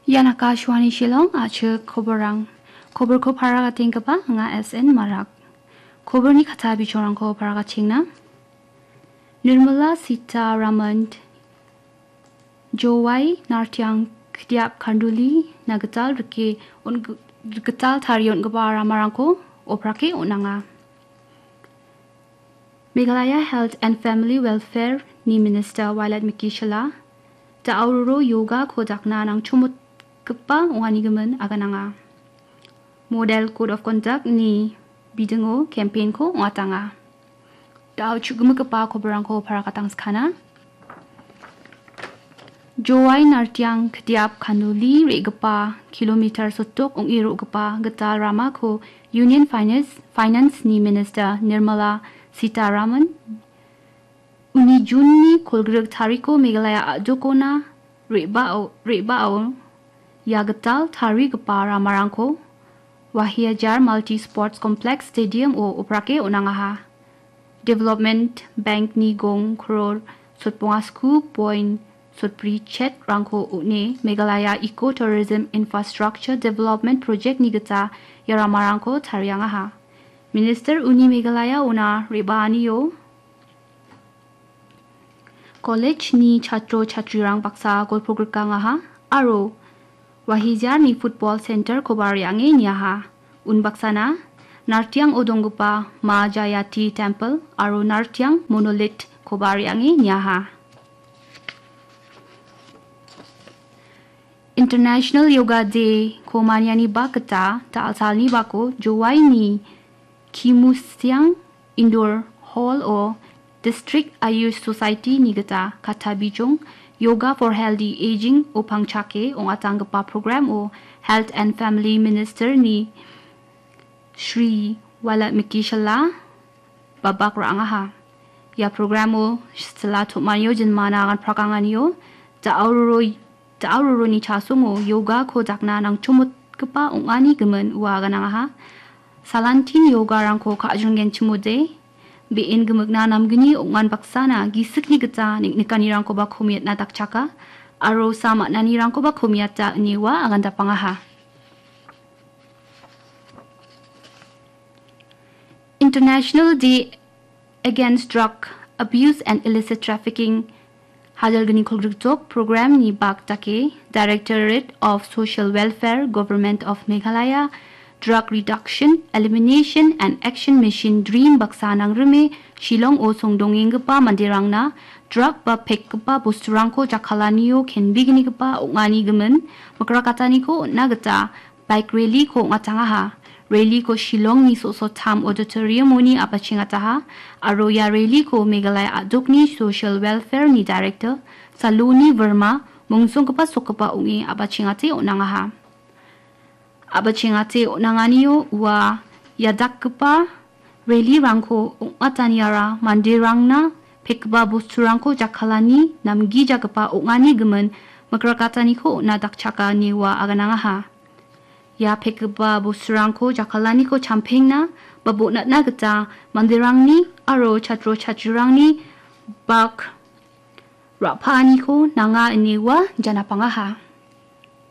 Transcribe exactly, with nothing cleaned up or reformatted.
Ian Akashvani Shillong, achik koborang. Koborko paragatenggaba anga S N Marak. Koborni kata bichongrangko paragachengna. Nirmala Sita Raman, Jowai Nartiang Kdiap Kanduli, Nagital rike on-, gital tarie on·gipa ramarangko oprake on·anga. Meghalaya Health and Family Welfare ni Minister Wailadmiki Shylla, da·auroro yoga ko dakna nangchomotgipa ong·anigimin agananga. Model Code of Conduct ni bidingo campaign ko ong·atanga. Da·o chu·gimigipa koborangko paragatangsakana. Jowai Nartiang Kdiap Kanduli re·gipa kilometer sotok ong·e ro·gipa gital ramako Union Finance, Finance ni Minister Nirmala Sitharaman uni June ni kolgrik tariko Meghalaya a·dokona re·bao, re·bao ia gital tarigipa ramarangko Wahiajar Multi Sports Complex Stadium o oprake on·angaha. Development Bank ni gong kror sotbonga sku point sotbri chet rangko on·e Meghalaya Eco Tourism Infrastructure Development Project ni gita ia ramarangko tariangaha. Minister uni Meghalaya ona re·baanio college ni chatro chatrirang baksa golpo grikangaha aro Wahijar ni football center koba re·ange niaha. Unbaksana Nartiang o donggipa Ma Jayati Temple aro Nartiang Monolith koba re·ange niaha. International Yoga Day ko maniani bak gita da·alsalni bako Jowai ni Kimusiang Indoor Hall o District Ayush Society ni gita kata bijong Yoga for Healthy Aging o pangchake ong·atanggipa program o Health and Family Minister ni Shri Wailadmiki Shylla babak ra·angaha. Ia programo sila tom·anio jinmana aganprakanganio da·auroro, da·auroroni chasongo yoga ko dakna nangchomotgipa ong·ani gimin ua aganangaha. Salantin yogarangko ka·jonggenchimode, be·en gimikna namgni ong·an baksana gisikni gita nik-, nikanirangkoba komiatna dakchaka, aro sam an·anirangkoba komiata ine ua agandapangaha. International Day Against Drug Abuse and Illicit Trafficking hajalgni kolgrikjok program ni bak dake Directorate of Social Welfare, Government of Meghalaya, Drug Reduction, Elimination and Action Mission, DREAM baksa nangrime Shillong o songdongenggipa manderangna drug ba pekgipa bosturangko jakkalanio kenbegnigipa ong·ani gimin mikrakataniko on·na gita bike rally ko ong·atangaha. Rally ko Shillongni Soso Tham Auditorium-oni apachengataha, aro ia rally ko Meghalaya a·dokni Social Welfare-ni Director Saloni Verma mongsonggipa sokgipa ong·e apachengate on·angaha. Apachengate on·anganio ua ia dakgipa rally-rangko ong·ataniara manderangna pekgipa bosturangko jakkalani namgijagipa ong·ani gimin mikrakataniko on·na dakchaka ine ua aganangaha. Ia pekgipa bosturangko jakkalaniko champengna ba bonatna gita manderangni aro chatro chatrirangni bak ra·paaniko nanga ine ua janapangaha.